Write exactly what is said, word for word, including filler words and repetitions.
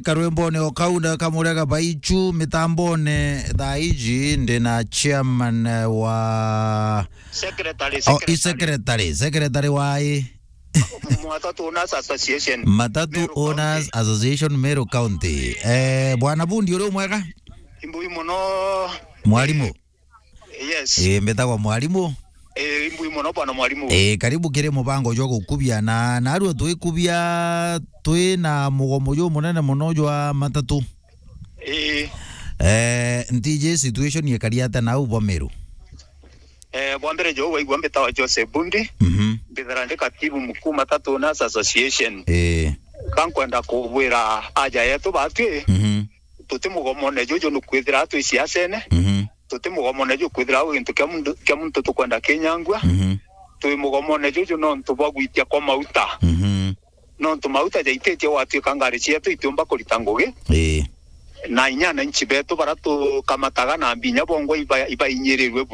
Karwembone o kau na kamurega baichu mitambone thaa iji ndi na chairman wa Secretary, oh, i secretary. Secretary, secretary wa i Matatu Owners Association, Matatu Meru Owners County. Association, Meru County. Eh, Bwana Bundi, uri mwega? Imbui muno. Mwarimu? Yes. Eh, mbitagwa Mwarimu. Eh, imbui muno bwana mwarimu. Eh, karibu kiri mubango jwa gukubia na, narua twikubia twi na mugomo jumunene muno jwa matatu. Eh. Eh, ntiji situation ikari atia nau bwa Meru? Eh, bwa mbere jo waigua mbitawa Joseph Bundi. Mhm. Mbithira ndi katibu mkuu Matatu Owners Association. Eh. Kankwenda kubwira aja yetu batwi. Mhm. Tuti mugomone juju ni kwithira twi siasene. Mhm. Tuti mugomone juju kwithira au gintu kia muntu, kia muntu tukwenda kinyangua. Mhm. Twi mugomone juju nontu bwa gwitia kwa mauta. Mhm. Nontu mauta jaititie gwatuika ngari cietu itiumba kurita ngugi. Ii. Na inya ananchi betu bara tukamataga na mbinya bongwa iba-, ibainyirirwe buru.